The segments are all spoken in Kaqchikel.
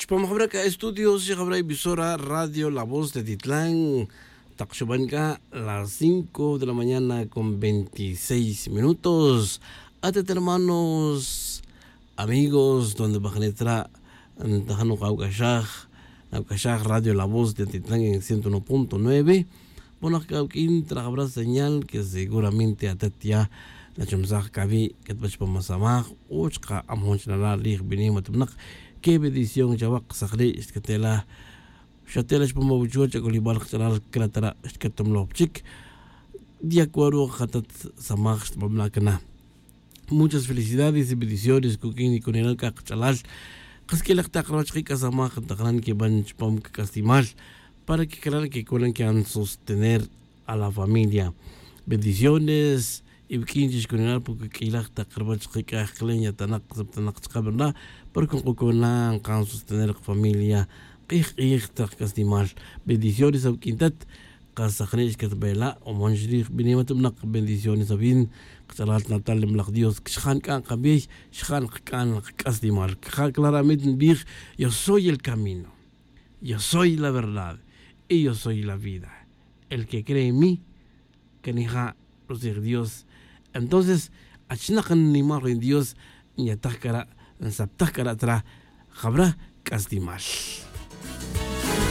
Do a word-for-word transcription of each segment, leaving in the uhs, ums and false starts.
Chpamajbraka estudios Jabra emisora Radio La Voz de Titlán Taqshubanka las cinco de la mañana con veintiséis minutos. Atet hermanos, amigos, donde bajanetra Tajano Kaukashaj, Kaukashaj Radio La Voz de Titlán en ciento uno punto nueve. Bueno, habrá señal que seguramente atet ya la chumsaj kabi ketbach pamasamaj uchqa amhonch nala lij binimatmnaq. Qué bendición chavak sakhri istkatela shatela chpamabuchuach akolibal qchalal kratara istkatomlopchik de acuerdo khatat samaj xtbamlakna. Muchas felicidades y bendiciones kukin y kunenal kaqchalal qaskelaq taqroch qikasamaj taqran que van chpam kastimal para que crean que kunan que han sostener a la familia. Bendiciones y kinchis kunenal porque kilaq taqrbach qikaqleña tanaq tanaq chqabrna porque kunan kan sostener familia qij qij taq kastimal. Bendiciones a quintat qasaqnish katbela o monjrij binimatmnaq bendiciones a bin qchalat natal mlaq Dios xjan kan qabij xjan kan kastimal. Claramente bij yo soy el camino, yo soy la verdad y yo soy la vida. El que cree en mí, que nija los Dios. Entonces, achnaqan nimar en Dios, ñatakara, nsaptakara tra, jabra kastimal.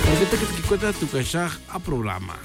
Porque te que cuenta tu kashaj a programa.